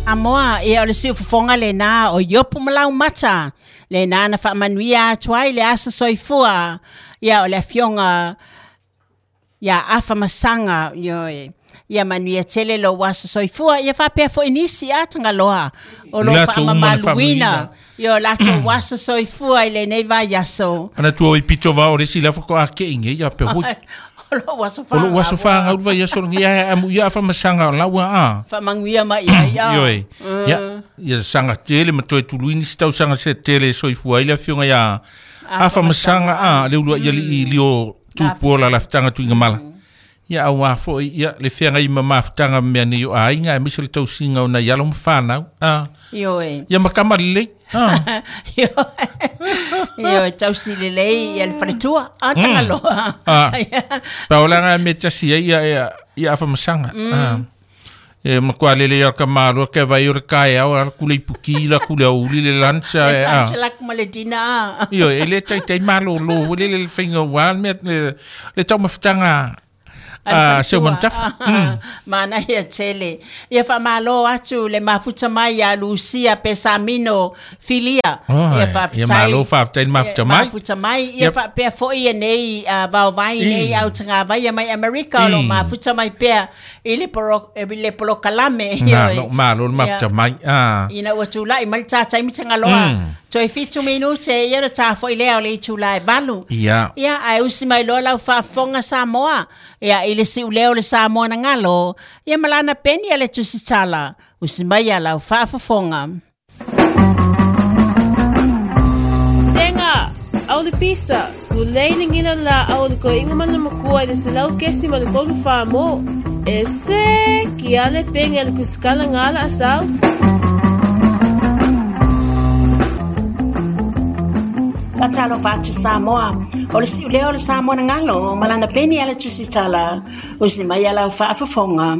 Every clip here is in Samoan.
Amoa, ia o le siufofoga lenā o Iopu ma Laumata, lenā na faamanuia atu ai le asa soifua, ia o le afioga ia Afamasaga, ioe. Ia manuia tele lou aso soifua, ia faapea foi nisi a Tagaloa o lo o faamamaluina i o latou aso soifua i lenei vaiaso. Manatua o i pito vao o le isi la faatoa kei nei ia pe hui. O lou aso O lou aso fanau le vaiaso lenei ae amu ia Afamasaga o laua a. Faamanuia mai ai ia. Ioe. Ia, ia saga tele ma toe tului nisi tausaga se tele e soifua ai le afioga ia Afamasaga a le uluai alii lio tupu o la lafutaga Tuigamala. Ia aua foi ia le feagai ma mafutaga ma mea nei o aiga aemaise le tausiga o nai alo ma fanau. A. Ioe. Ia ma tama lelei. A. Ioe, tausi lelei ia le faletua. A Tagaloa. A. Paolaga me tasi ai ia ia ia Afamasaga. A. E matua lelei o ka malo ke vai o le kaeao a ku le ipuki la ku le aouli le lunch a e a. Lunch la ku ma le dinner. Ioe, e le taitai malōlō foi lele le faiga aua le mea le le taumafataga a Seumanutafa. Manaia tele. Ia faamalo atu le mafuta mai ia Lucia Pesamino Filia. Oh, ia faafetai. Ia malo faafetai le mafuta mai. Mafuta mai. Ia faapea foi ia nei vaovai nei au tagavaia mai Amerika o lo mafuta mai pea i le, poro, i le polokalame. Malo, malo le mafuta mai. Ah. Ina ua tulai mai le tā taimi Tagaloa. Toe 7 minute ia le tā foi lea o le itula e 8. Ia. Ia, ae usi mai loa lau faafofoga Samoa. Ia, i le siuleo o le Samoa na galo. Ia ma lana peni a le tusitala. Usi mai ia lau faafofoga. Tenga, au le pisa, ku lei le ngina la au le koinga mana makua i le selau kesi ma le kolu wha mo. E se, ki ale penge le kuskala ngala asau. Faatalofa atu Samoa, o le siuleo o le Samoa na galo ma lana peni a le tusitala, usi mai ia lau faafofoga.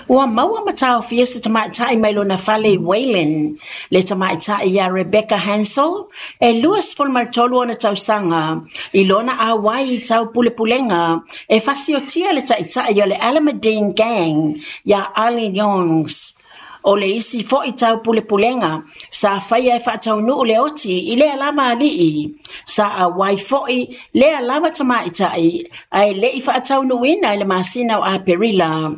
Ua maua ma taofia se tamaitai mai lona fale i Wayland, le tamaitai ia Rebecca Hansel, e 23 ona tausaga, i lona auai i taupulepulega e fasiotia le taitai o le Alameddine Gang ia Ali Youngs. O le isi foi taupulepulega sa faia e faataunuu le oti i lea lava alii, sa auai foi lea lava tamaitai ae le'i faataunuuina i le masina o Aperila.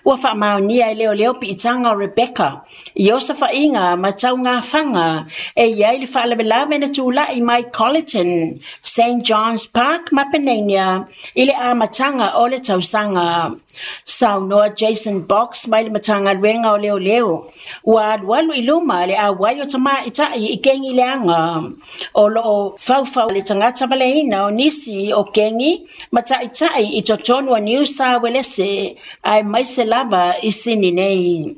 Ua faamaonia e leoleo piitaga o Rebecca i osofaiga ma taugafaga e i ai le faalavelave na tula'i mai Colleton, St John's Park ma Panania i le amataga o le tausaga. Saunoa Jason Box mai le Matagaluega o Leoleo, ua alualu i luma le auai o tamaitai i kengi leaga. O loo faufau le tagata valeina o nisi o kengi ma taitai i totonu o New South Wales aemaise lava i Sini nei.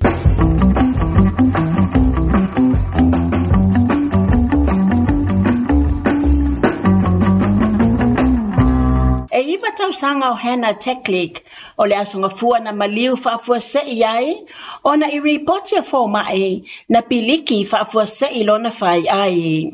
E 9 tausaga o Hannah Teklik o le aso gafua na maliu faafuasei ai ona i ripoti a foma'i na piliki faafuasei lona fai ai.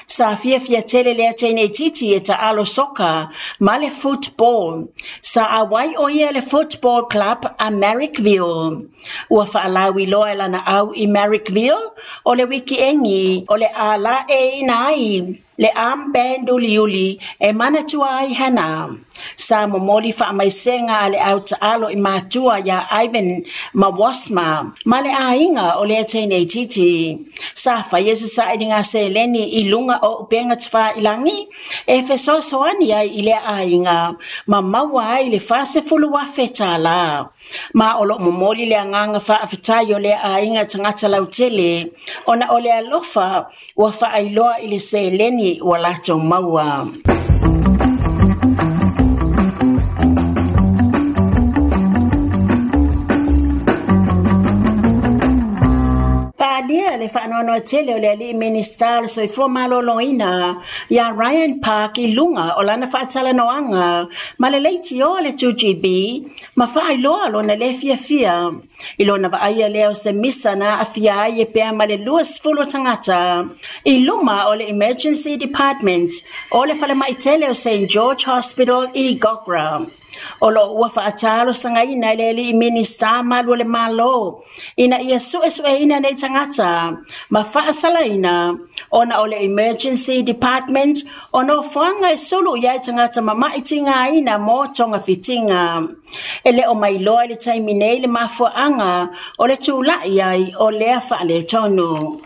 Sa fiafia tele lea teineitiiti e taalo soka ma le football. Sa auai o ia le football club a Marrickville. Ua faalauiloa e lana au i Marrickville o le wikiengi o le a laeina ai le armband uliuli e manatua ai Hannah. Sa momoli faamaisega a le au taalo i matua ia Ivan ma Wasma ma le aiga o lea teineitiiti. Sa faia se sailiga seleni i luga o upega tafailagi e fesoasoani ai i lea aiga ma maua ai le $40,000. Ma o loo momoli le agaga faafetai o lea aiga tagata lautele ona o le alofa ua faailoa i le seleni ua latou maua. Palia le faanoanoa tele o le alii Minista o le Soifua Maloloina ia Ryan Park i luga o lana faatalanoaga ma le leitioa le 2GB ma faailoa lona le fiafia i lona vaaia lea o se misa na aafia ai e pea ma le 20 tagata i luma o le Emergency Department o le falemai tele o St George Hospital i Gogra. O loo ua faatalosagaina e le alii Minista malu o le Malo Ina ia suesueina nei tagata ma faasalaina ona o le Emergency Department o nofoaga e sulu i ai tagata mama'i tigaina mo togafitiga. E le o mailoa i le taimi nei le mafuaaga o le tula'i ai o lea faaletonu.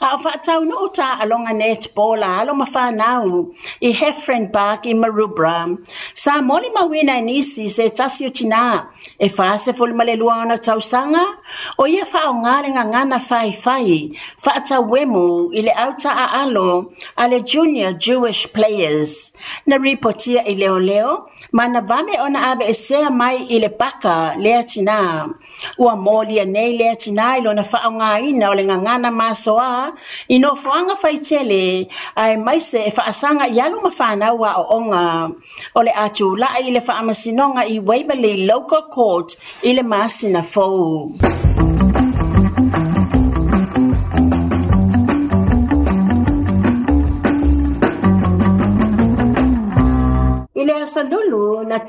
A o faataunuu taaloga netball a alo ma fanau i Heffron Park i Maroubra, sa molimauina e nisi se tasi o tinā e 42 ona tausaga o ia faaaogā le gagana faifai faatauemu i le autaaalo a le Junior Jewish Players. Na ripotia i leoleo ma na vave ona aveesea mai i le paka lea tinā. Ua molia nei lea tinā i lona faaaogāina o le gagana masoa i nofoaga faitele aemaise e faasaga i alo ma fanau aooga. O le a tula'i i le faamasinoga i Waverley Local Court i le masina fou. I le aso Lulu na